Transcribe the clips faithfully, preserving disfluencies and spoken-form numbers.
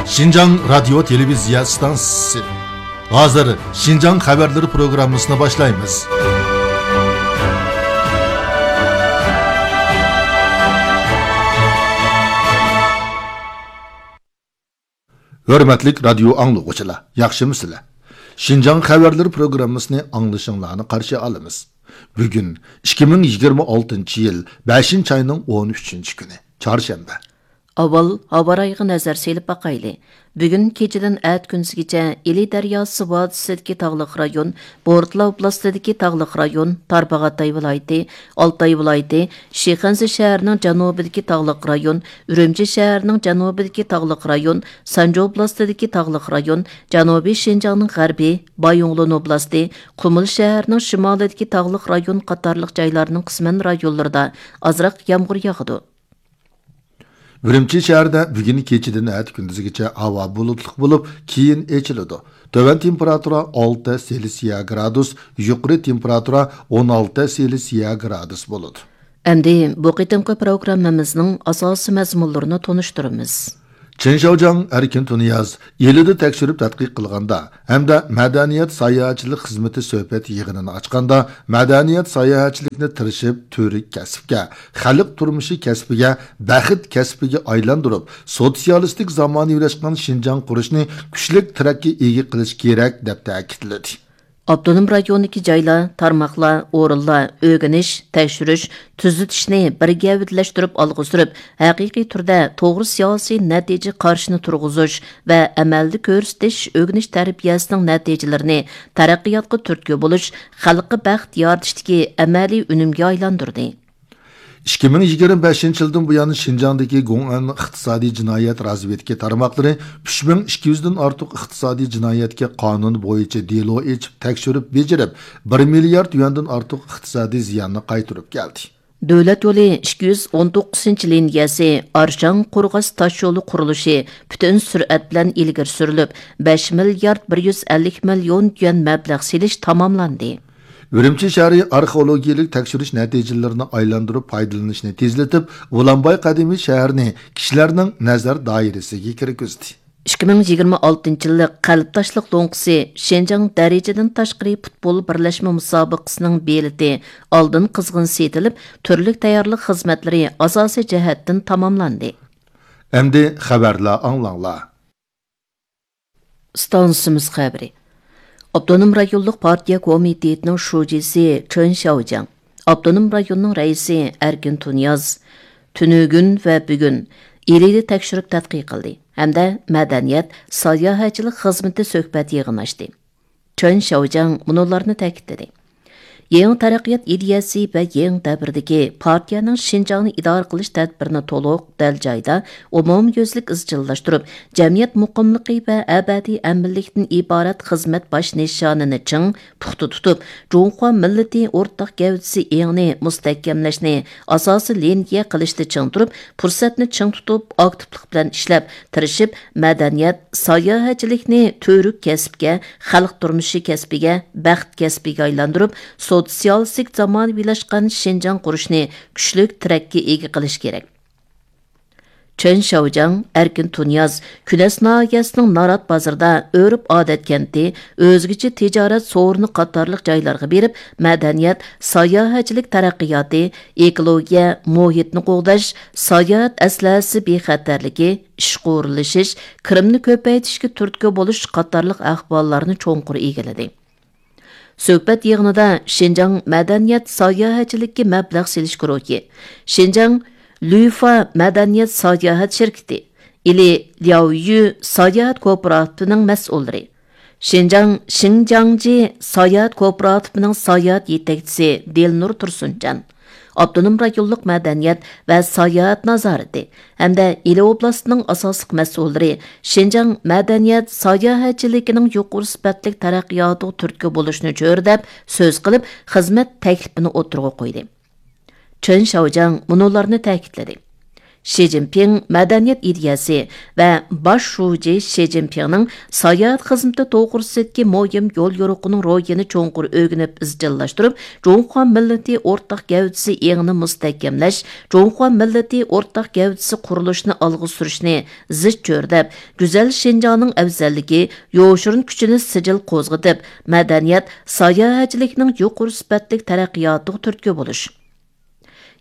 شىنجاڭ رادىيو تېلېۋىزىيە ئىستانسىسى. ھازىر شىنجاڭ خەۋەرلىرى پروگراممىسىنى باشلايمىز. ھۆرمەتلىك رادىيو ئاڭلىغۇچىلار، ياخشىمۇسىلەر؟ شىنجاڭ خەۋەرلىرى پروگراممىسىنى ئاڭلىشىڭلارنى قارشى ئالىمىز. بۈگۈن ئىككى مىڭ يىگىرمە ئالتىنچى يىل بەشىنچى ئاينىڭ ئون ئۈچىنچى كۈنى، چارشەنبە. ئاۋۋال ھاۋا رايىغا نەزەر سېلىپ باقايلى. بۈگۈن كېچىدىن ئەتە كۈندۈزگىچە ئىلى دەرياسى ۋادىسىدىكى تاغلىق رايون، بورتلا ئوبلاستىدىكى تاغلىق رايون، تارباغاتاي ۋىلايىتى، ئالتاي ۋىلايىتى، شىخەنزە شەھىرىنىڭ جەنۇبىدىكى تاغلىق رايون، ئۈرۈمچى شەھىرىنىڭ جەنۇبىدىكى تاغلىق رايون، سانجى ئوبلاستىدىكى تاغلىق رايون، جەنۇبىي شىنجاڭنىڭ غەربى، بايىنغولىن ئوبلاستى، قۇمۇل شەھىرىنىڭ شىمالىدىكى تاغلىق رايون قاتارلىق جايلارنىڭ قىسمەن رايونلىرىدا ئازراق يامغۇر ياغىدۇ. ئۈرۈمچى شەھىرىدە بۈگۈن كېچىدىن ئەتە كۈندۈزگىچە ھاۋا بۇلۇتلۇق بولۇپ، كېيىن ئېچىلىدۇ. تۆۋەن تېمپېراتۇرا ئالتە سېلسىيە گرادۇس، يۇقىرى تېمپېراتۇرا ئون ئالتە سېلسىيە گرادۇس بولىدۇ. ئەمدى بۇ قېتىمقى پروگراممىمىزنىڭ ئاساسىي مەزمۇنلىرىنى تونۇشتۇرىمىز. چېن شياۋجياڭ ئەركىن تۇنىياز ئىلىدە تەكشۈرۈپ تەتقىق قىلغاندا ھەمدە مەدەنىيەت ساياھەتچىلىك خىزمىتى سۆھبەت يىغىنىنى ئاچقاندا، مەدەنىيەت ساياھەتچىلىكنى تىرىشىپ تۈۋرۈك كەسىپكە، خەلق تۇرمۇشى كەسپىگە، بەخت كەسپىگە ئايلاندۇرۇپ، سوتسىيالىستىك زامانىۋىلاشقان شىنجاڭ قۇرۇشنى كۈچلۈك تىرەككە ئىگە قىلىش كېرەك، دەپ تەكىتلىدى. ئاپتونوم رايوندىكى جايلار، تارماقلار، ئورۇنلار ئۆگىنىش، تەكشۈرۈش، تۈزىتىشنى بىر گەۋدىلەشتۈرۈپ ئالغا سۈرۈپ، ھەقىقىي تۈردە توغرا سىياسىي نەتىجە قارىشىنى تۇرغۇزۇش ۋە ئەمەلدە كۆرسىتىش ئۆگىنىش تەربىيەسىنىڭ نەتىجىلىرىنى تەرەققىياتقا تۈرتكە بولۇش، خەلققە بەخت يارىتىشتىكى ئەمەلىي ئۈنۈمگە ئايلاندۇردى. ئىككى مىڭ يىگىرمە بەشىنچى يىلدىن بۇيان شىنجاڭدىكى گوڭئەن ئىقتىسادىي جىنايەت رازۋېدكا تارماقلىرى ئۈچ مىڭ ئىككى يۈزدىن ئارتۇق ئىقتىسادىي جىنايەتكە قانۇن بويىچە دېلو ئېچىپ تەكشۈرۈپ بېجىرىپ، بىر مىليارد يۈەندىن ئارتۇق ئىقتىسادىي زىياننى قايتۇرۇپ كەلدى. دۆلەت يولى ئىككى يۈز ئون توققۇزىنچى لىنىيەسى ئارشاڭ قورغاس تاشيولى قۇرۇلۇشى پۈتۈن سۈرئەت بىلەن ئىلگىرى سۈرۈلۈپ، بەش مىليارد بىر يۈز ئەللىك مىليون يۈەن مەبلەغ سېلىش تاماملاندى. ئۈرۈمچى شەھىرى ئارخېئولوگىيەلىك تەكشۈرۈش نەتىجىلىرىنى ئايلاندۇرۇپ پايدىلىنىشنى تېزلىتىپ، ئۇلانباي قەدىمىي شەھىرىنى كىشىلەرنىڭ نەزەر دائىرىسىگە كىرگۈزدى. ئىككى مىڭ يىگىرمە ئالتىنچى يىللىق قەلبداشلىق لوڭقىسى شىنجاڭ دەرىجىدىن تاشقىرى پۇتبول بىرلەشمە مۇسابىقىسىنىڭ بېلىتى ئالدىن قىزغىن سېتىلىپ، تۈرلۈك تەييارلىق خىزمەتلىرى ئاساسىي جەھەتتىن تاماملاندى. ئەمدى خەۋەرلەر ئاڭلاڭلار. ئىستانسىمىز خەۋىرى. ئاپتونوم رايونلۇق پارتىيە كومىتېتىنىڭ شۇجىسى چېن شياۋجياڭ، ئاپتونوم رايوننىڭ رەئىسى ئەركىن تۇنىياز تۈنۈگۈن ۋە بۈگۈن ئىلىدە تەكشۈرۈپ تەتقىق قىلدى ھەمدە مەدەنىيەت، ساياھەتچىلىك خىزمىتى سۆھبەت يىغىنى ئاچتى. چېن شياۋجياڭ مۇنۇلارنى تەكىتلىدى. يېڭى تەرەققىيات ئىدىيەسى ۋە يېڭى دەۋردىكى پارتىيەنىڭ شىنجاڭنى ئىدارە قىلىش تەدبىرىنى تولۇق، دەل جايىدا، ئومۇميۈزلۈك ئىزچىللاشتۇرۇپ، جەمئىيەت مۇقىملىقى ۋە ئەبەدىي ئەمىنلىكتىن ئىبارەت خىزمەت باش نىشانىنى چىڭ، پۇختا تۇتۇپ، جۇڭخۇا مىللىتى ئورتاق گەۋدىسى ئېڭىنى مۇستەھكەملەشنى ئاساسىي لىنىيە قىلىشتا چىڭ تۇرۇپ، پۇرسەتنى چىڭ تۇتۇپ، ئاكتىپلىق بىلەن ئىشلەپ، تىرىشىپ، مەدەنىيەت، ساياھەتچىلىكنى تۈۋرۈك كەسىپكە، خەلق تۇرمۇشى كەسپىگە، بەخت كەسپىگە ئايلاندۇرۇپ، سوتسىيالىستىك زامانىۋىلاشقان شىنجاڭ قۇرۇشنى كۈچلۈك تىرەككە ئىگە قىلىش كېرەك. چېن شياۋجياڭ، ئەركىن تۇنىياز كۈنەس ناھىيەسىنىڭ نارات بازىرىدا ئۆرپ-ئادەت كەنتى، ئۆزگىچە تىجارەت سورۇنى قاتارلىق جايلارغا بېرىپ، مەدەنىيەت، ساياھەتچىلىك تەرەققىياتى، ئېكولوگىيە، مۇھىتنى قوغداش، ساياھەت ئەسلىھەسى بىخەتەرلىكى، ئىشقا ئورۇنلىشىش، كىرىمنى كۆپەيتىشكە تۈرتكە بولۇش قاتارلىق ئەھۋاللارنى چوڭقۇر ئىگىلىدى. سۆھبەت يىغىنىدا شىنجاڭ مەدەنىيەت ساياھەتچىلىككە مەبلەغ سېلىش گۇرۇھى، شىنجاڭ لۈفا مەدەنىيەت ساياھەت شىركىتى، ئىلى لياۋيۈ ساياھەت كوپىراتىپىنىڭ مەسئۇللىرى، شىنجاڭ شىڭجياڭجى ساياھەت كوپىراتىپىنىڭ ساياھەت يېتەكچىسى دىلنۇر تۇرسۇنجان، ئاپتونوم رايونلۇق مەدەنىيەت ۋە ساياھەت نازارىتى ھەمدە ئىلى ئوبلاستىنىڭ ئاساسلىق مەسئۇللىرى شىنجاڭ مەدەنىيەت ساياھەتچىلىكىنىڭ يۇقىرى سۈپەتلىك تەرەققىياتىغا تۈرتكە بولۇشنى چۆرىدەپ سۆز قىلىپ، خىزمەت تەكلىپىنى ئوتتۇرىغا قويدى. چېن شياۋجياڭ مۇنۇلارنى تەكىتلىدى. شى جىنپىڭ مەدەنىيەت ئىدىيەسى ۋە باش شۇجى شى جىنپىڭنىڭ ساياھەت خىزمىتى توغرىسىدىكى مۇھىم يوليورۇقىنىڭ روھىنى چوڭقۇر ئۆگىنىپ ئىزچىللاشتۇرۇپ، جۇڭخۇا مىللىتى ئورتاق گەۋدىسى ئېڭىنى مۇستەھكەملەش، جۇڭخۇا مىللىتى ئورتاق گەۋدىسى قۇرۇلۇشىنى ئالغا سۈرۈشنى زىچ چۆرىدەپ، گۈزەل شىنجاڭنىڭ ئەۋزەللىكى، يوشۇرۇن كۈچىنى سىجىل قوزغىتىپ، مەدەنىيەت، ساياھەتچىلىكنىڭ يۇقىرى سۈپەتلىك تەرەققىياتىغا تۈرتكە بولۇش.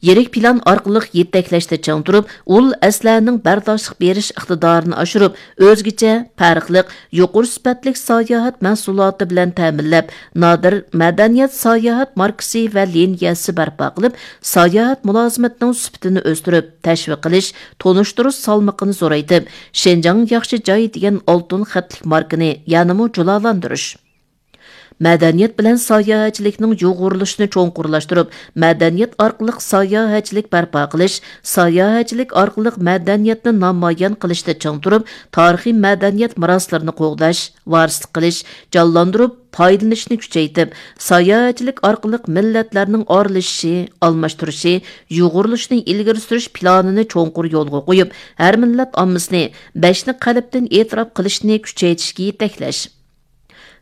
يىرىك پىلان ئارقىلىق يېتەكلەشتە چىڭ تۇرۇپ، ئۇل ئەسلىھەنىڭ بەرداشلىق بېرىش ئىقتىدارىنى ئاشۇرۇپ، ئۆزگىچە، پەرقلىق، يۇقىرى سۈپەتلىك ساياھەت مەھسۇلاتى بىلەن تەمىنلەپ، نادىر مەدەنىيەت ساياھەت ماركىسى ۋە لىنىيەسى بەرپا قىلىپ، ساياھەت مۇلازىمىتىنىڭ سۈپىتىنى ئۆستۈرۈپ، تەشۋىق قىلىش، تونۇشتۇرۇش سالمىقىنى زورايتىپ، شىنجاڭ ياخشى جاي دېگەن ئالتۇن خەتلىك ماركىنى يەنىمۇ جۇلالاندۇرۇش. مەدەنىيەت بىلەن ساياھەتچىلىكنىڭ يۇغۇرۇلۇشىنى چوڭقۇرلاشتۇرۇپ، مەدەنىيەت ئارقىلىق ساياھەتچىلىك بەرپا قىلىش، ساياھەتچىلىك ئارقىلىق مەدەنىيەتنى نامايان قىلىشتا چىڭ تۇرۇپ، تارىخىي مەدەنىيەت مىراسلىرىنى قوغداش، ۋارىسلىق قىلىش، جانلاندۇرۇپ پايدىلىنىشنى كۈچەيتىپ، ساياھەتچىلىك ئارقىلىق مىللەتلەرنىڭ ئارىلىشىشى، ئالماشتۇرۇشى، يۇغۇرۇلۇشىنى ئىلگىرى سۈرۈش پىلانىنى چوڭقۇر يولغا قويۇپ، ھەر مىللەت ئاممىسىنى بەشنى قەلبتىن ئېتىراپ قىلىشنى كۈچەيتىشكە يېتەكلەش.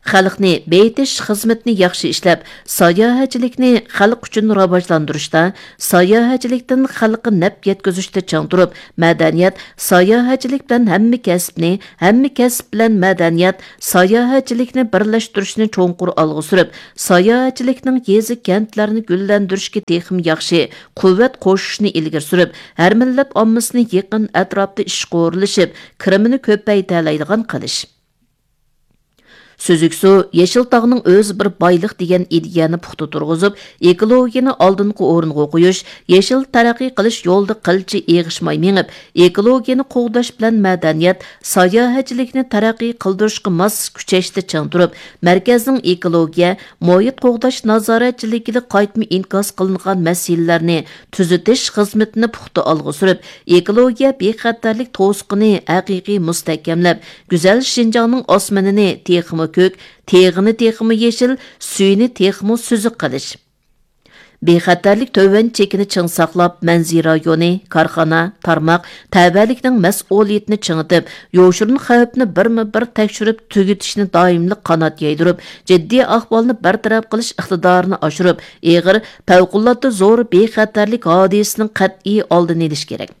خەلقنى بېيىتىش خىزمىتىنى ياخشى ئىشلەپ، ساياھەتچىلىكنى خەلق ئۈچۈن راۋاجلاندۇرۇشتا، ساياھەتچىلىكتىن خەلققە نەپ يەتكۈزۈشتە چىڭ تۇرۇپ، مەدەنىيەت، ساياھەتچىلىك بىلەن ھەممە كەسىپنى، ھەممە كەسىپ بىلەن مەدەنىيەت، ساياھەتچىلىكنى بىرلەشتۈرۈشنى چوڭقۇر ئالغا سۈرۈپ، ساياھەتچىلىكنىڭ يېزا، كەنتلەرنى گۈللەندۈرۈشكە تېخىمۇ ياخشى قۇۋۋەت قوشۇشنى ئىلگىرى سۈرۈپ، ھەر مىللەت ئاممىسىنى يېقىن ئەتراپتا ئىشقا ئورۇنلىشىپ، كىرىمىنى كۆپەيتەلەيدىغان قىلىش. سۈزۈك سۇ، يېشىل تاغنىڭ ئۆزى بىر بايلىق دېگەن ئىدىيەنى پۇختا تۇرغۇزۇپ، ئېكولوگىيەنى ئالدىنقى ئورۇنغا قويۇش، يېشىل تەرەققىي قىلىش يولىدا قىلچە ئېغىشماي مېڭىپ، ئېكولوگىيەنى قوغداش بىلەن مەدەنىيەت، ساياھەتچىلىكنى تەرەققىي قىلدۇرۇشقا ماس كۈچەشتە چىڭ تۇرۇپ، مەركەزنىڭ ئېكولوگىيە، مۇھىت قوغداش نازارەتچىلىكىدە قايتما ئىنكاس قىلىنغان مەسىلىلەرنى تۈزىتىش خىزمىتىنى پۇختا ئالغا سۈرۈپ، ئېكولوگىيە بىخەتەرلىك توسۇقىنى ھەقىقىي مۇستەھكەملەپ، گۈزەل شىنجاڭنىڭ ئاسمىنىنى تېخىمۇ كۆك، تېغىنى تېخىمۇ يېشىل، سۈيىنى تېخىمۇ سۈزۈك قىلىش. بىخەتەرلىك تۆۋەن چېكىنى چىڭ ساقلاپ، مەنزىرە رايونى، كارخانا، تارماق، تەۋەلىكنىڭ مەسئۇلىيىتىنى چىڭىتىپ، يوشۇرۇن خەۋپنى بىرمۇ بىر تەكشۈرۈپ تۈگىتىشنى دائىملىق قانات يايدۇرۇپ، جىددىي ئەھۋالنى بىر تەرەپ قىلىش ئىقتىدارىنى ئاشۇرۇپ، ئېغىر، پەۋقۇلئاددە زور بىخەتەرلىك ھادىسىسىنىڭ قەتئىي ئالدىنى ئېلىش كېرەك.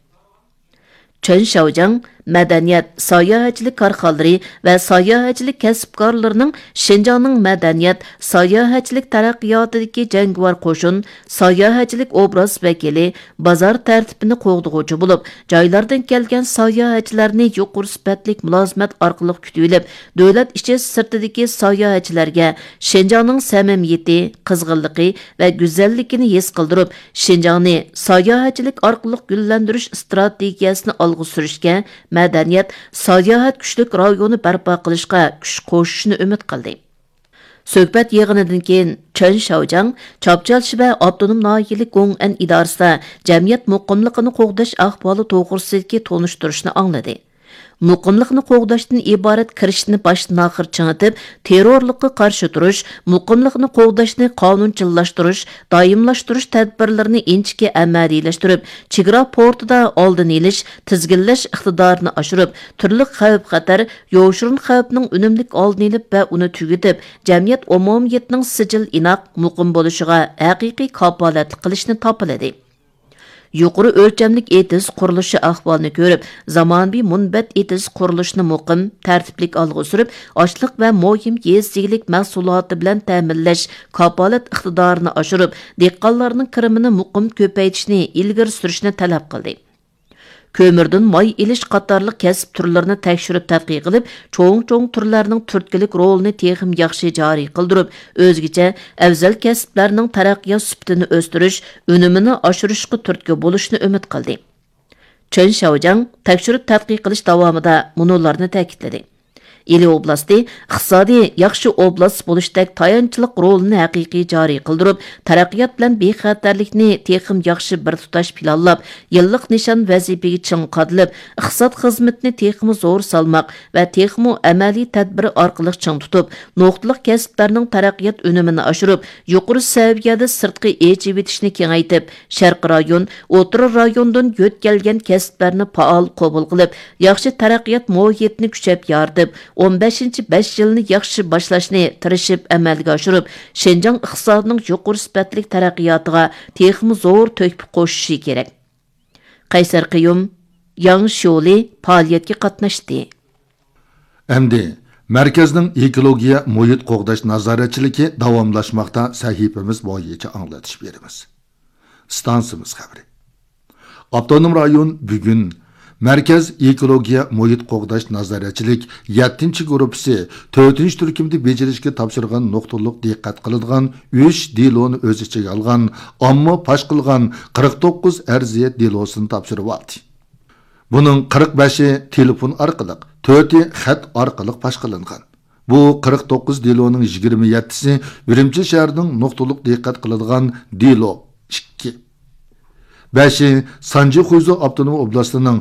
چېن شياۋجياڭ مەدەنىيەت، ساياھەتچىلىك كارخانىلىرى ۋە ساياھەتچىلىك كەسىپكارلىرىنىڭ شىنجاڭنىڭ مەدەنىيەت، ساياھەتچىلىك تەرەققىياتىدىكى جەڭگىۋار قوشۇن، ساياھەتچىلىك ئوبراز ۋەكىلى، بازار تەرتىپىنى قوغدىغۇچى بولۇپ، جايلاردىن كەلگەن ساياھەتچىلەرنى يۇقىرى سۈپەتلىك مۇلازىمەت ئارقىلىق كۈتۈۋېلىپ، دۆلەت ئىچى سىرتىدىكى ساياھەتچىلەرگە شىنجاڭنىڭ سەمىمىيىتى، قىزغىنلىقى ۋە گۈزەللىكىنى ھېس قىلدۇرۇپ، شىنجاڭنى ساياھەتچىلىك ئارقىلىق گۈللەندۈرۈش ئىستراتېگىيەسىنى ئالغا سۈرۈشكە، مەدەنىيەت، ساياھەت كۈچلۈك رايونى بەرپا قىلىشقا كۈچ قوشۇشىنى ئۈمىد قىلدى. سۆھبەت يىغىنىدىن كېيىن، چېن شياۋجياڭ چاپچال شىبە ئاپتونوم ناھىيەلىك گوڭئەن ئىدارىسىدا جەمئىيەت مۇقىملىقىنى قوغداش ئەھۋالى توغرىسىدىكى تونۇشتۇرۇشنى ئاڭلىدى. مۇقىملىقنى قوغداشتىن ئىبارەت كىرىشىشنى باشتىن-ئاخىر چىڭىتىپ، تېررورلۇققا قارشى تۇرۇش، مۇقىملىقنى قوغداشنى قانۇنچىللاشتۇرۇش، دائىملاشتۇرۇش تەدبىرلىرىنى ئىنچىكە ئەمەلىيلەشتۈرۈپ، چېگرا پورتىدا ئالدىنى ئېلىش، تىزگىنلەش ئىقتىدارىنى ئاشۇرۇپ، تۈرلۈك خەۋپ-خەتەر، يوشۇرۇن خەۋپنىڭ ئۈنۈملۈك ئالدىنى ئېلىپ ۋە ئۇنى تۈگىتىپ، جەمئىيەت ئومۇمىيىتىنىڭ سىجىل ئىناق، مۇقىم بولۇشىغا ھەقىقىي كاپالەتلىك قىلىشنى تاپىلىدى. يۇقىرى ئۆلچەملىك ئېتىز قۇرۇلۇشى ئەھۋالىنى كۆرۈپ، زامانىۋى مۇنبەت ئېتىز قۇرۇلۇشىنى مۇقىم، تەرتىپلىك ئالغا سۈرۈپ، ئاشلىق ۋە مۇھىم يېزا ئىگىلىك مەھسۇلاتى بىلەن تەمىنلەش كاپالەت ئىقتىدارىنى ئاشۇرۇپ، دېھقانلارنىڭ كىرىمىنى مۇقىم كۆپەيتىشنى ئىلگىرى سۈرۈشنى تەلەپ قىلدى. كۆمۈردىن ماي ئېلىش قاتارلىق كەسىپ تۈرلىرىنى تەكشۈرۈپ تەتقىق قىلىپ، چوڭ-چوڭ تۈرلەرنىڭ تۈرتكىلىك رولىنى تېخىمۇ ياخشى جارى قىلدۇرۇپ، ئۆزگىچە ئەۋزەل كەسىپلەرنىڭ تەرەققىيات سۈپىتىنى ئۆستۈرۈش، ئۈنۈمىنى ئاشۇرۇشقا تۈرتكە بولۇشنى ئۈمىد قىلدى. چېن شياۋجياڭ تەكشۈرۈپ تەتقىق قىلىش داۋامىدا مۇنۇلارنى تەكىتلىدى. ئىلى ئوبلاستى ئىقتىسادىي ياخشى ئوبلاست بولۇشتەك تايانچلىق رولىنى ھەقىقىي جارى قىلدۇرۇپ، تەرەققىيات بىلەن بىخەتەرلىكنى تېخىمۇ ياخشى بىر تۇتاش پىلانلاپ، يىللىق نىشان ۋەزىپىگە چىڭ قادىلىپ، ئىقتىساد خىزمىتىنى تېخىمۇ زور سالماق ۋە تېخىمۇ ئەمەلىي تەدبىر ئارقىلىق چىڭ تۇتۇپ، نۇقتىلىق كەسىپلەرنىڭ تەرەققىيات ئۈنۈمىنى ئاشۇرۇپ، يۇقىرى سەۋىيەدە سىرتقى ئېچىۋېتىشنى كېڭەيتىپ، شەرقىي رايون، ئوتتۇرا رايوندىن يۆتكەلگەن كەسىپلەرنى پائال قوبۇل قىلىپ، ياخشى تەرەققىيات مۇھىتىنى كۈچەپ يارىتىپ، ئون بەشىنچى بەش يىلنى ياخشى باشلاشنى تىرىشىپ ئەمەلگە ئاشۇرۇپ، شىنجاڭ ئىقتىسادىنىڭ يۇقىرى سۈپەتلىك تەرەققىياتىغا تېخىمۇ زور تۆھپە قوشۇشى كېرەك. قەيسەر قىيۇم ياڭ شيولى پائالىيەتكە قاتناشتى. ئەمدى مەركەزنىڭ ئېكولوگىيە مۇھىت قوغداش نازارەتچىلىكى داۋاملاشماقتا سەھىپىمىز بويىچە ئاڭلىتىش بېرىمىز. ئىستانسىمىز خەۋىرى. ئاپتونوم رايون بۈگۈن مەركەز ئېكولوگىيە مۇھىت قوغداش نازارەتچىلىك يەتتىنچى گۇرۇپپىسى تۆتىنچى تۈركۈمدە بېجىرىشكە تاپشۇرغان نۇقتىلىق دىققەت قىلىدىغان ئۈچ دېلونى ئۆز ئىچىگە ئالغان ئامما پاش قىلغان قىرىق توققۇز ئەرزىيەت دېلوسىنى تاپشۇرۇۋالدى. بۇنىڭ قىرىق بەشى تېلېفون ئارقىلىق، تۆتى خەت ئارقىلىق پاش قىلىنغان. بۇ قىرىق توققۇز دېلونىڭ يىگىرمە يەتتىسى ئۈرۈمچى شەھىرىنىڭ نۇقتىلىق دىققەت قىلىدىغان دېلو، ئىككى. بەشى سانجى خۇيزۇ ئاپتونوم ئوبلاستىنىڭ